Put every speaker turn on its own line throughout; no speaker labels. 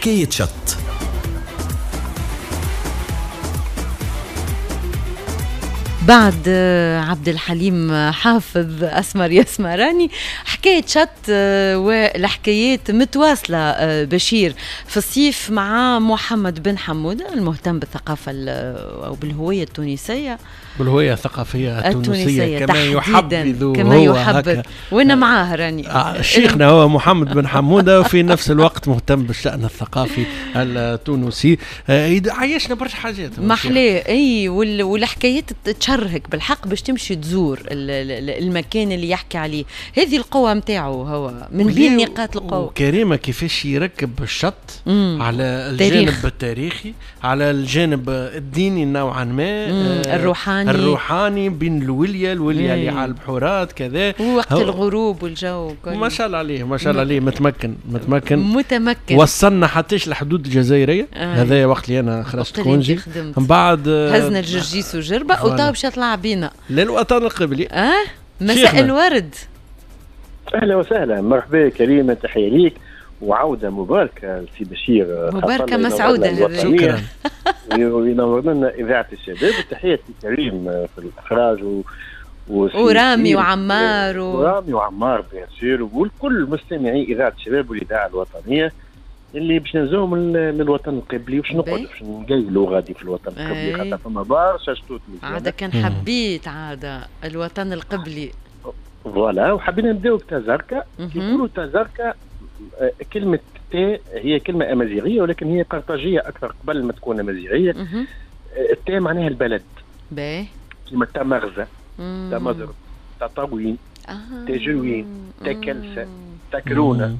حكاية شط.
بعد عبد الحليم حافظ أسمر يسمراني، حكاية شط والحكايات متواصلة بشير في الصيف مع محمد بن حمودة المهتم بالثقافة أو بالهوية التونسية،
بالهوية الثقافية التونسية كما يحبذ،
كما يحبذ، وانا معاه راني
شيخنا هو محمد بن حمودة، وفي نفس الوقت مهتم بالشأن الثقافي التونسي. عايشنا برشا حاجات
محلاه. اي والحكايات تشرهك بالحق باش تمشي تزور المكان اللي يحكي عليه. هذه القوة متاعه هو من بين نقاط القوة.
وكريمة كيفاش يركب الشط على الجانب التاريخي، على الجانب الديني نوعا ما، الروحاني بين الولية اللي على البحورات كذا،
ووقت الغروب والجو كل.
ما شاء الله عليه، ما شاء الله عليه، متمكن متمكن
متمكن.
وصلنا حتىش الحدود الجزائرية. هذا وقت اللي أنا خرجت congé، من بعد
هزنا الجرجيس وجربة وطاب باش يطلع بينا
للوطن القبلي.
مساء الورد.
أهلا وسهلا، مرحبا كريمة، تحية ليك وعودة مباركة لسي بشير،
مباركة مسعودة.
شكرا.
وينور لنا إذاعة الشباب، وتحية كريم في الإخراج
ورامي وعمار
ورامي وعمار bien sûr، والكل مستمعي إذاعة الشباب والإذاعة الوطنية اللي باش نزوهم للوطن القبلي، وباش نقعدوا باش نقيلوا غادي في الوطن القبلي، خاطر فما برشا شطوط
عادة. كان حبيت عادة الوطن القبلي
voilà. وحبينا نبداو بتازركا. يقولوا تازركا كلمة تا هي كلمة أمازيغية، ولكن هي قرطاجية أكثر قبل ما تكون أمازيغية. التا معناها البلد،
باهي،
كيما تامغزة، تامزر، تطاوين، تاجوين، تاكلسة، تاكرونة.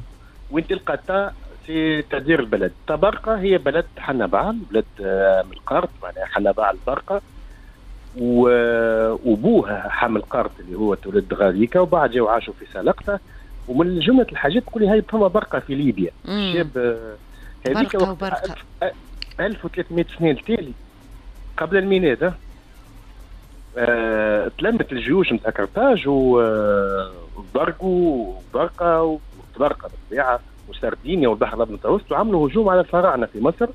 وين تلقى تا c'est-à-dire البلد. تبرقة هي بلد حنبعل، بلد من القرط، معناها حنبعل البرقة، وبوها حامل قرط اللي هو تولد غاديكا، وبعد جاو عاشوا في سلقطة. ومن جملة الحاجات تقولي هاي فما برقة في ليبيا. الشاب هذيك وقت 1300 سنة التالي قبل الميلاد تلمت الجيوش نتاع قرطاج وبرقوا وبرقة وطبرقة بالطبيعة وسردينيا والبحر الأبيض المتوسط، وعملوا هجوم على الفراعنة في مصر،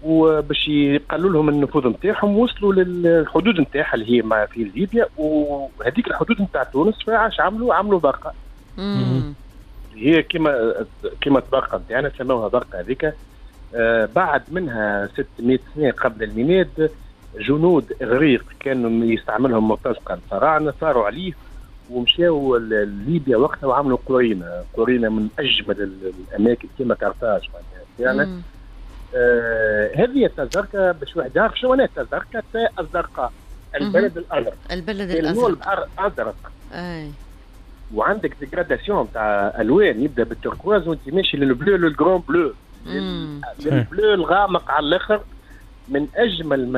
وباش يقلوا لهم النفوذ نتاعهم. وصلوا للحدود نتاعها اللي هي في ليبيا، وهذيك الحدود نتاع تونس. فاش عملوا برقة. هي كيما تبرقة نتاعنا سموها برقة هذيك. بعد منها 600 سنة قبل الميلاد جنود إغريق كانوا يستعملهم مرتزقة الفراعنة، صاروا عليه ومشاو لليبيا وقتها وعملوا قرينة. قرينة من أجمل الأماكن كيما قرطاج معناها. هذه التازركا باش واحد يعرف شنو معناها التازركا. الزرقاء، البلد الأزرق،
البلد الأزرق،
البحر الأزرق. وعندك dégradation تاع الوان، يبدا بال turquoise وانت ماشي لل bleu، لل grand bleu، لل bleu الغامق على الاخر. من اجمل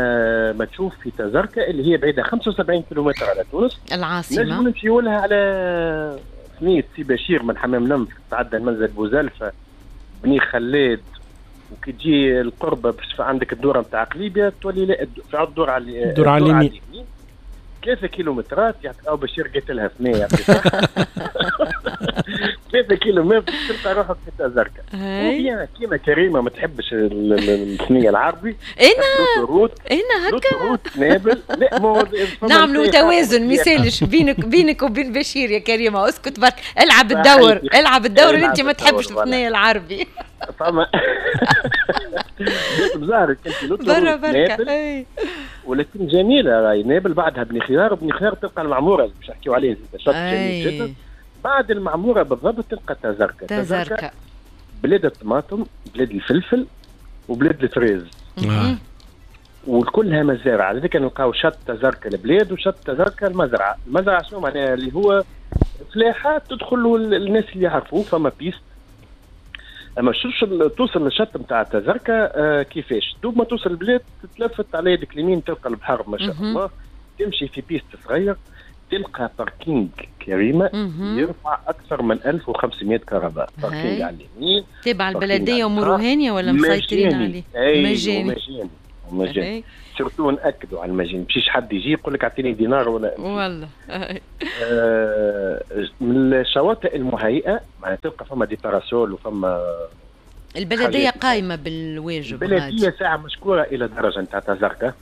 ما تشوف في تازركا اللي هي بعيدة 75 كيلومتر على تونس
العاصمة.
نجم نمشيو لها على ثنيه سي بشير من حمام نمف، تعدى المنزل بوزلفه، بني خلاد، وكي تجي القربة باش عندك الدورة نتاع قليبيا تولي لا في الدور على
الدور على اليمين
3 كيلومترات او بشير قلت لها ثنيه 3 كيلومتر تلقى روحك في تازركا. وبيان كيما كريمة ما تحبش الثنية العربي،
انا هكا
نابل. لا
نعملوا توازن مثالش بينك وبين بشير يا كريمة. اسكت برك، العب الدور، العب الدور اللي انت ما تحبش الثنية العربي.
فما بزهرك انت
برا بركة،
ولكن جميلة راهي نابل. بعدها بني خيار، وبني خيار تلقى المعمورة باش نحكيو عليه شط جميل جدا. بعد المعمورة بالضبط تلقى تازركا. تازركا بلاد الطماطم، بلاد الفلفل، وبلاد الفريز، وكلها مزارع. لذلك نلقاو شط تازركا البلاد وشط تازركا المزرعة. المزرعة شنو معناها؟ اللي هو فلاحة تدخل الناس اللي يعرفوه، فما piste. اما توصل للشط نتاع تازركا كيفاش؟ دوب ما توصل البلاد تتلفت على يدك اليمين تلقى البحر ما شاء الله، تمشي في piste صغير تلقى parking كريمة يرفع اكثر من 1500 كرهبة. parking على اليمين
تبع البلدية ومروهانيا ولا مسيطرين عليه؟
مجاني مجاني. surtout ناكدوا على المجاني، مشيش حد يجي يقول لك اعطيني دينار ولا
والله.
من الشواطئ المهيئه معناها تلقى فما des parasols وفما
البلدية قايمة بالواجب.
البلدية ساعة مشكورة الى درجه نتاع تازركا،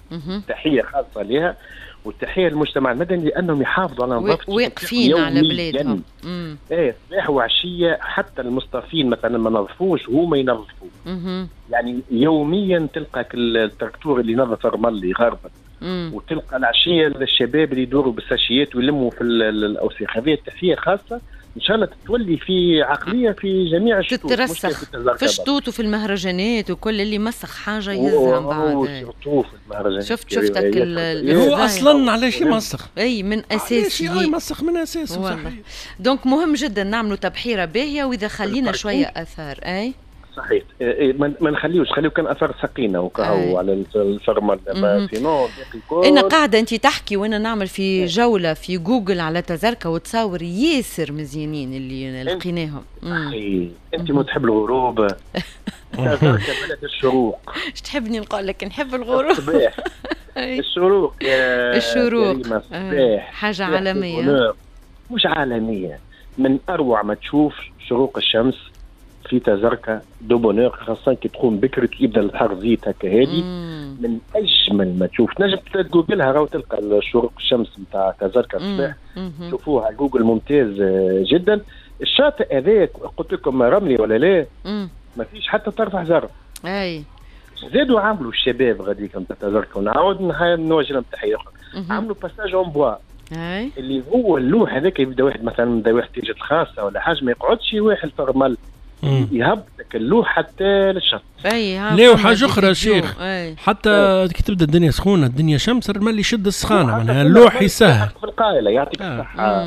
تحية خاصة لها والتحيه للمجتمع المدني لانهم يحافظوا على نظافة،
واقفين على بلادهم.
ايه صباح وعشية، حتى المصطفين مثلا ما نظفوش هما ينظفوا. يعني يوميا تلقى التراكتور اللي ينظف الرمل يغربل، وتلقى العشية الشباب اللي يدوروا بالساشيات ويلموا في الاوساخ. هذه التحية خاصة ان شاء الله تتولي في عقلية في جميع الشطوط،
تترسخ في الشطوط وفي المهرجانات، وكل اللي مسخ حاجة يهزها من بعد.
surtout في المهرجانات.
شفتك
هو اصلا علاش يمسخ؟
اي من اساسه،
يمسخ من اساسه صحيح.
donc مهم جدا نعملوا تبحيره باهيه، واذا خلينا شوية اثار. اي
صحيح، ما نخليوش، خليو كان اثار سقينه وكهو على الفرمل، sinon.
انا قاعدة انت تحكي وانا نعمل في جولة في جوجل على تازركا، وتصاور ياسر مزيانين اللي لقيناهم.
انت ما تحب الغروب؟ تازركا بلد الشروق.
اش تحبني نقول لك؟ نحب الغروب.
الصباح الشروق يا
الشروق حاجة عالمية.
مش عالمية، من اروع ما تشوف شروق الشمس في تازركا de bonne heure، خاصة كي تقوم بكري يبدا البحر زيت هكا هادي، من اجمل ما تشوف. تنجم تجوجلها راهو تلقى شروق الشمس نتاع تازركا الصباح، شوفوها على جوجل ممتاز جدا. الشاطئ هذاك قلت لكم رملي ولا لا؟ ما فيش حتى طرف حجر.
اي
زادوا عملوا الشباب غاديك نتاع تازركا، ونعاود نوجه لهم تحية اخرى، عملوا passage en bois اللي هو اللوح هذاك، يبدا واحد مثلا يبدا واحد احتياجات خاصة ولا حاجة، ما يقعدش واحد في الرمل، يهبطك اللوح حتى للشط.
لا وحاجه اخرى شيخ، حتى كي تبدا الدنيا سخونة الدنيا شمس، الرمل يشد السخانه، معناها اللوح يسهل
في القائله. يعطيك الصحة.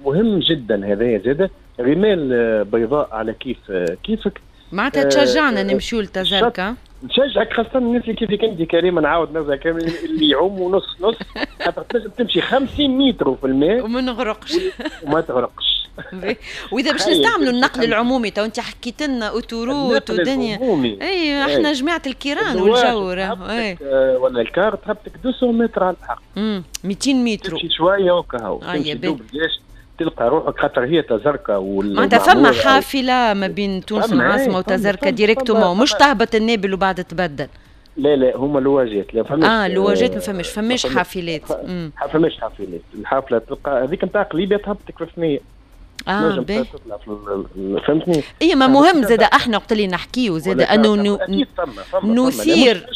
مهم جدا هذايا زاده، رمال بيضاء على كيف كيفك،
معناتها تشجعنا نمشيو لتازركا.
نشجعك خاصة الناس اللي كيفك انت كريمة، نعاود نرجع كامل اللي يعوموا نص نص، خاطر تنجم تمشي 50 متر في الماء
وما نغرقش
وما تغرقش.
واذا باش نستعملوا النقل العمومي، تو انت حكيت لنا autoroute ودنيا، اي احنا جماعة الكيران والجو
اي ولا ال car تهبطك 200 متر على الحق،
200 متر
تمشي شوية وكهو، تمشي تلقى روحك، خاطر هي تازركا
معناتها فما حافلة ما بين تونس العاصمة وتازركا directement، مش تهبط النابل وبعد تبدل.
لا لا هما لواجات، لا
فماش لواجات، ما فماش حافلات.
ما فماش حافلات، الحافلة تلقى هذيك نتاع قليبيه تهبطك في الثنية.
باهي
فهمتني.
اي ما مهم زاد احنا وقت اللي نحكيو زاد انه نثير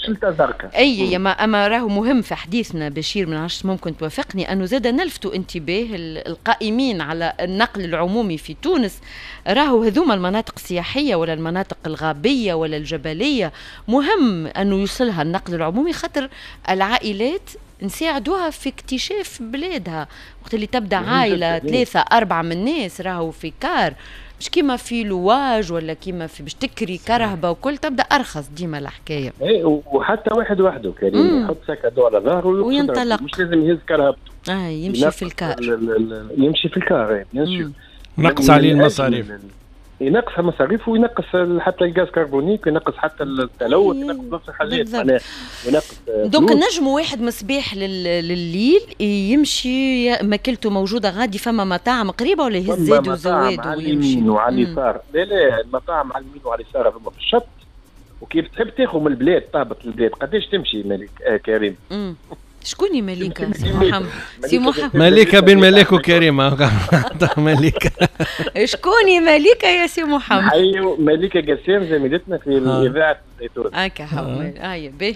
اي يا ما اما راهو مهم في حديثنا بشير، من عشت ممكن توافقني انه زاد نلفتوا انتباه القائمين على النقل العمومي في تونس، راهو هذوما المناطق السياحية ولا المناطق الغابيه ولا الجبلية مهم انه يوصلها النقل العمومي، خاطر العائلات نساعدوها في اكتشاف بلادها. وقت اللي تبدا عائلة 3 4 من الناس راهو في car، مش كيما في لواج ولا كيما في باش تكري كرهبه وكل، تبدا ارخص ديما الحكاية.
ايه وحتى واحد وحده كريم يحط sac à dos على ظهره
وينطلق،
مش لازم يهز كرهبته.
يمشي في ال car،
يمشي في ال car bien sûr،
نقص عليه المصاريف،
ينقص المصاريف وينقص حتى ال gaz carbonique وينقص حتى التلوث، ينقص برشا حاجات معناها وينقص.
donc نجم واحد مصباح لليل يمشي، ماكلته موجودة غادي، فما مطاعم قريبه ولا يهز زاد وزواد
ويمشي اليمين وعلى اليسار. لا لا المطاعم على اليمين وعلى اليسار هذوما في الشط، وكيف تحب تاخذ من البلاد تهبط البلاد قداش تمشي ملك كريم؟
شكون مليكة؟ سي محمد، سي محمد
مليكة بين ملاك وكريمة. مليكة
شكون مليكة يا سي محمد؟
ايوه مليكة قسام زميلتنا في الإذاعة الزيتون.
هكا هو هيا باهي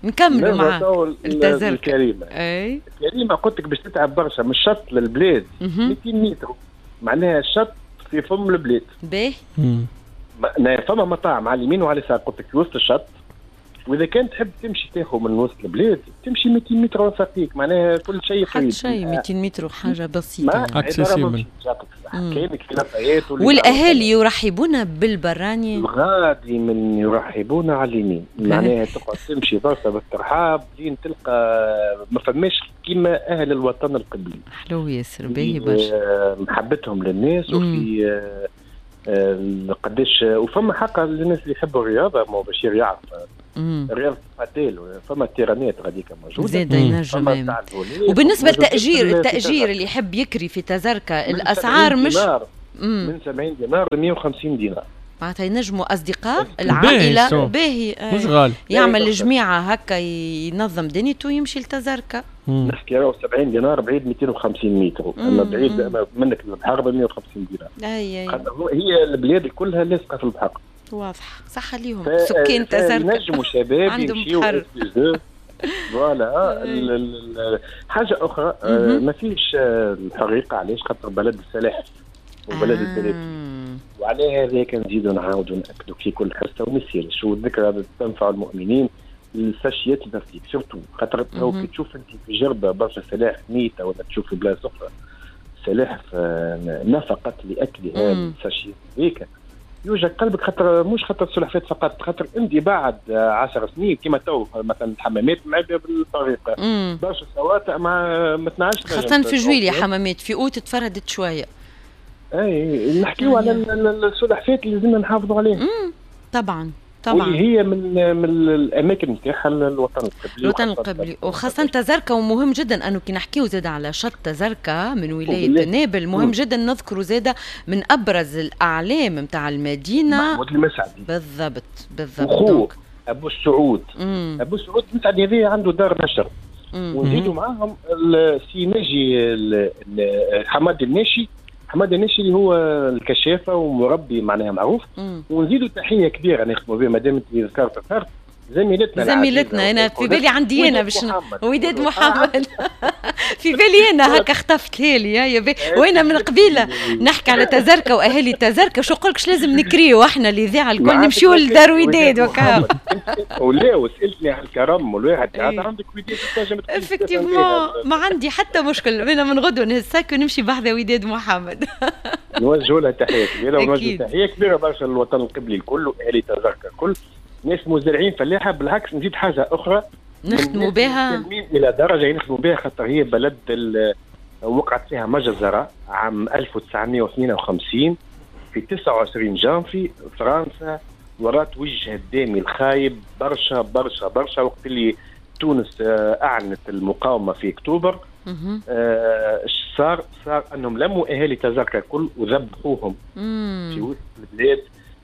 نكملوا مع
التازركا. الكريمة اي كريمة قلت لك باش تتعب برشا من الشط للبلاد 200 متر، معناها الشط في فم البلاد.
باهي
فما مطاعم على اليمين وعلى اليسار قلت لك في وسط الشط، واذا كان تحب تمشي تاخذ من وسط البلاد تمشي 200 متر وساقيك، معناها كل شيء
قريب. شيء 200 متر حاجة بسيطة
accessible.
والاهالي يرحبون بالبراني
غادي من يرحبون على اليمين، معناها تقعد تمشي برشا بالترحاب لين تلقى ما فماش كيما اهل الوطن القبلي.
حلو ياسر باهي برشا
محبتهم للناس وفي قداش. وفما حقا للناس اللي يحبوا الرياضة، ما بشير يعرف رياضة الباتيل، فما تيرانات غاديك موجودة
زاد ينجم. وبالنسبة للتاجير، التاجير اللي يحب يكري في تازركا الاسعار مش
من 70 دينار ل 150 دينار.
معناتها ينجموا اصدقاء العائلة، باهي
مش غالي،
يعمل جميعه هكا ينظم دنيته ويمشي لتزركه.
نحكي راهو 70 دينار بعيد 250 متر، اما بعيد منك البحر ب 150 دينار.
اي
هي البلاد كلها لاصقه في البحر.
واضح، صح ليهم سكان تزركه
ينجموا شباب يمشيو voilà. حاجة اخرى ما فيش الحريقه، علاش؟ خاطر بلد السلاحف وبلد التلافيف، وعلى هذاك نزيدوا نعاودوا ناكدوا في كل حصة وما يصيرش، والذكرى تنفع المؤمنين. الساشيات البلاستيك surtout، خاطر كي تشوف انت في جربه برشا سلاحف ميته، ولا تشوف في بلاصة اخرى سلاحف نفقت لاكلها الساشيات هذيك، يوجع قلبك، خاطر مش خاطر السلحفات فقط، خاطر انت بعد 10 سنين كيما تو مثلا الحمامات معبيه بالطريقة، برشا شواطئ ما تنعش،
خاصة في جويليا حمامات في اوت تفردت شوية.
اي نحكيو على السلحفات اللي لازمنا نحافظوا عليها.
طبعا طبعا،
واللي هي من الاماكن نتاعها الوطن القبلي.
الوطن القبلي وخاصة تزركه، ومهم جدا انه كي نحكيو زاد على شط تزركه من ولاية نابل، مهم جدا نذكروا زاد من ابرز الاعلام نتاع المدينة
محمود المسعدي.
بالضبط بالضبط.
وخوه ابو السعود. ابو السعود المسعدي هذا عنده دار نشر، ونزيدوا معاهم السي ناجي حماد الناشي، حماد الناشي اللي هو الكشافه ومربي معناها معروف. ونزيدوا تحية كبيرة نخدموا بها مادام انت ذكرت زميلتنا
انا في بالي عندي انا باش وداد محمد في بالي انا هكا خطفت لي يا بي، وانا من قبيلة نحكي على تزركه واهالي تزركه، شو نقولكش لازم نكريو احنا الاذاعة الكل نمشيو لدار وداد وكا.
ولا وسالتني على الكرم والواحد عندك وداد تنجم
effectivement، ما عندي حتى مشكل، انا من غدوه نهز sac ونمشي بحذا وداد محمد.
نوجهوا لها تحية كبيرة، ونوجهوا تحية كبيرة برشا للوطن القبلي الكل واهالي تزركه الكل، ناس مزارعين فلاحة. بالعكس نزيد حاجة اخرى
نخدموا بها
الى درجه نخدموا بها، خاطر هي بلد وقعت فيها مجزرة عام 1952 في 29 جانفي، فرنسا ورات وجه الدامي الخايب برشا برشا برشا وقت اللي تونس اعلنت المقاومة في اكتوبر. صار انهم لموا اهالي تزركه الكل وذبحوهم في وسط البلاد،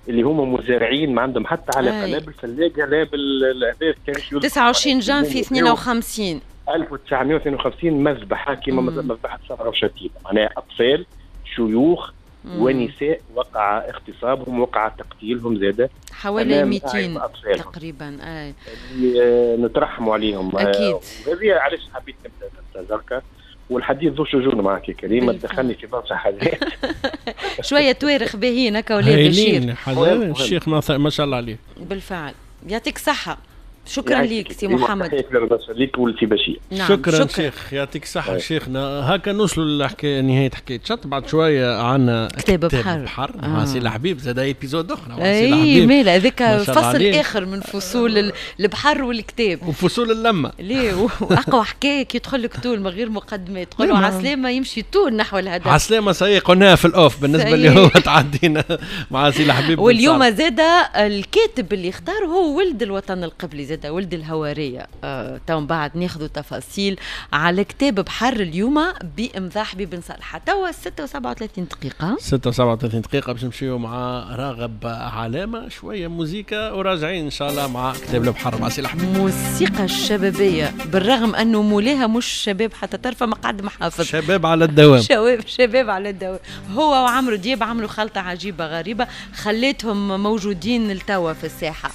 اللي هما مزارعين ما عندهم حتى علاقة لا بالفلاقه لا بالاهداف.
كان 29 جانفي 52
1952 مذبحه كما مذبحه صبرا وشتيمه، معناها اطفال شيوخ ونساء وقع اغتصابهم وقع تقتيلهم زاده
حوالي 200 تقريبا.
اللي نترحموا عليهم
اكيد.
وهذه علاش حبيت نبدا تزركه، والحديث ذو شجون معك يا كريم، دخلني في برشا حاجات.
شوية توارخ باهيين هكا ولا بشير.
الشيخ ما شاء الله عليه.
بالفعل يعطيك صحة، شكرا ليك سي محمد.
تحية كبيرة ليك ولسي بشير.
نعم. شكرا شيخ، يعطيك الصحة شيخنا. هكا نوصلوا لنهاية حكاية شط. بعد شوية عندنا
كتاب بحر
مع سي الحبيب، زاد épisode أخرى مع
سي الحبيب. اي مالا هذاك فصل آخر من فصول البحر والكتاب
وفصول اللمة.
ليه وأقوى حكاية كي يدخل لك طول من غير مقدمات، تقول له عسلامة يمشي طول نحو الهدف.
عسلامة صحيح قلناها في ال off بالنسبة اللي هو تعدينا مع سي الحبيب.
واليوم زاد الكاتب اللي اختار هو ولد الوطن القبلي، زاد ولد الهوارية. تو من بعد ناخذ تفاصيل على كتاب بحر اليوم بإمضاء حبيب بن صالحة. توا 6:37 دقيقة،
6:37 دقيقة باش نمشيو مع راغب علامة، شوية موزيكا وراجعين إن شاء الله مع كتاب البحر مع سي الحبيب.
موسيقى الشبابية بالرغم أنه مولاها مش شباب حتى طرفة، ما قعد محافظ
شباب على الدوام.
شباب على الدوام. هو وعمرو دياب عملوا خلطة عجيبة غريبة خليتهم موجودين لتوا في الساحة.